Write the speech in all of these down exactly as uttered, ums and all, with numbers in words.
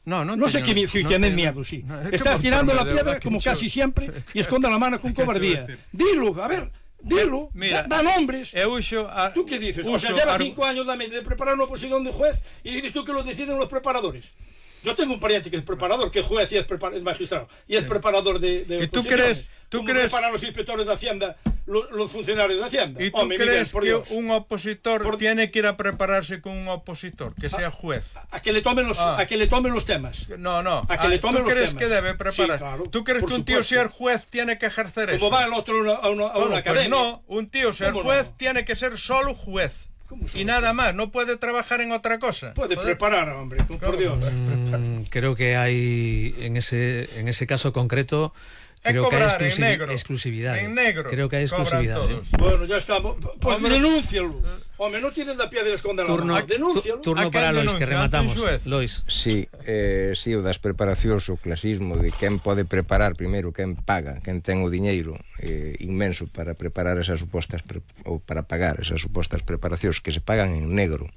No, no, no sé teño, que si no tienes teño, miedo, sí. no, Estás tirando la piedra como casi siempre y esconde la mano con cobardía. Dilo, a ver, dilo, Mira, da, da nombres. Eu uso a, ¿Tú qué dices? O uso sea, lleva ar... cinco años de, de preparar una oposición de juez y dices tú que lo deciden los preparadores. Yo tengo un pariente que es preparador, que es juez y es, es magistrado, y es preparador de, de ¿Y tú oposiciones. crees, tú ¿Cómo crees... preparan los inspectores de Hacienda, los, los funcionarios de Hacienda? ¿Y tú Hombre, crees Miguel, por que Dios. un opositor por... tiene que ir a prepararse con un opositor, que sea juez? A, a que le tomen los, ah. a que le tomen los temas. No, no. A que le tomen ¿Tú los crees temas? que debe preparar? Sí, claro, ¿Tú crees que un tío supuesto. ser juez tiene que ejercer eso? Como va el otro a una, a una, a bueno, una pues academia. no, un tío ser juez no? tiene que ser solo juez. Y nada más, no puede trabajar en otra cosa. Puede, puede... preparar, hombre, por Dios. Mm, creo que hay, en ese, en ese caso concreto, creo que hay exclusiv negro, exclusividad. En negro. Creo que hay exclusividad. ¿eh? Bueno, ya está. Pues hombre, denúncialo. Hombre, no tienes la piedra escondida. Turno, denúncialo. turno para Lois, que rematamos. Lois. Sí, eh, sí, o das preparacións, o clasismo de quen pode preparar primeiro, quen paga, quen ten o diñeiro eh, inmenso para preparar esas supostas pre ou para pagar esas supostas preparacións que se pagan en negro.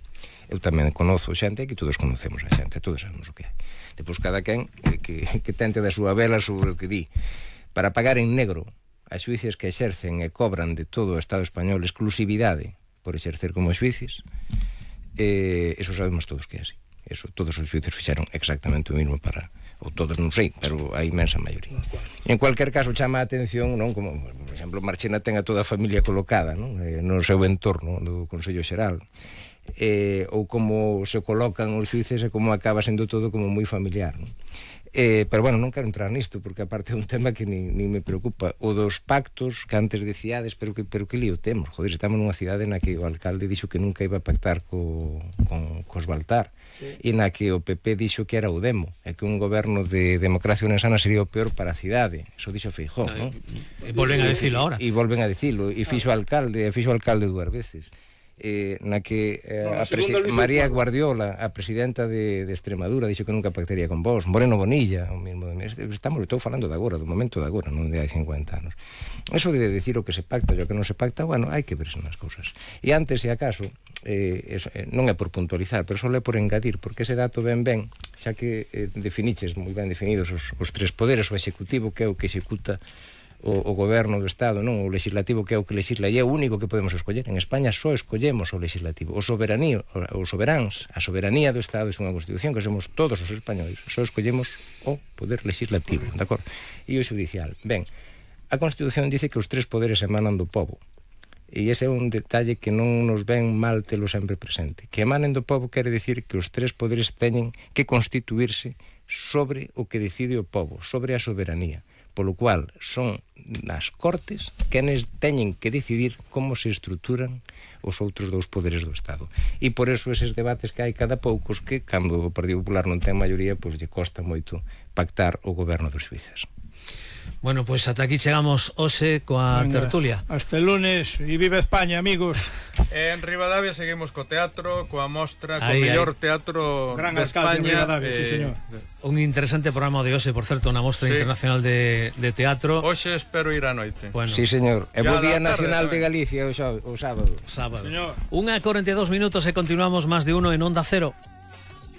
Eu tamén conozo xente, que todos conocemos a xente, todos sabemos o que hai. Depois cada quen que, que, que tente da súa vela sobre o que di. Para pagar en negro as xuíces que exercen e cobran de todo o Estado español exclusividade por exercer como xuíces, eh, eso sabemos todos que é así. Eso, todos os xuíces fixeron exactamente o mismo para, ou todos non sei, pero a inmensa maioría. E en cualquier caso chama a atención, non, como, por exemplo, Marchena ten a toda a familia colocada, non, eh, no seu entorno do Consello Xeral, eh, ou como se colocan os xuíces e como acaba sendo todo como moi familiar, non? Eh, pero bueno, non quero entrar nisto porque aparte é un tema que ni, ni me preocupa, o dos pactos que antes decíades, pero que, pero que lío temos, joder, estamos nunha cidade na que o alcalde dixo que nunca iba a pactar co, con, cos Baltar, sí. E na que o P P dixo que era o demo, e que un goberno de democracia unesana sería o peor para a cidade, eso dixo Feijóo, non? E volven a dicilo ahora. E volven a dicilo, e fixo alcalde, e fixo alcalde dúas veces. Eh, na que eh, no, a María Guardiola, a presidenta de, de Extremadura, dixo que nunca pactaría con vos. Moreno Bonilla, o mismo, estamos, estou falando de agora, do momento de agora, non de hai cincuenta anos. Eso de decir o que se pacta e o que non se pacta, bueno, hai que verse nas cousas. E antes, se acaso, eh, es, eh, non é por puntualizar, pero só é por engadir, porque ese dato ben ben, xa que eh, definiches moi ben definidos os, os tres poderes, o executivo, que é o que executa O, o goberno do Estado, non, o legislativo, que é o que legisla, e é o único que podemos escoller. En España só escollemos o legislativo. O soberanía, os soberáns, a soberanía do Estado é unha constitución que somos todos os españoles. Só escollemos o poder legislativo, de acordo? E o judicial. Ben, a Constitución dice que os tres poderes emanan do pobo. E ese é un detalle que non nos ven mal telo sempre presente. Que emanen do pobo quere dicir que os tres poderes teñen que constituirse sobre o que decide o pobo, sobre a soberanía. Polo cual son nas Cortes quenes teñen que decidir como se estruturan os outros dous poderes do Estado. E por eso eses debates que hai cada poucos que, cando o Partido Popular non ten maioría, pois lle costa moito pactar o goberno dos xuíces. Bueno, pois pues ata aquí chegamos hoxe coa Venga, tertulia. Hasta el lunes e viva España, amigos. En Ribadavia seguimos co teatro, coa mostra, co ay, mellor ay. teatro Gran de España. Ribadavia, eh, sí, señor. Un interesante programa de hoxe, por certo, unha mostra sí. internacional de, de teatro. Hoxe espero ir á noite. Bueno, sí, señor. É bo Día Nacional de Galicia o, o sábado. Sábado. Señor. Unha corenta e dous minutos e continuamos máis de uno en Onda Cero.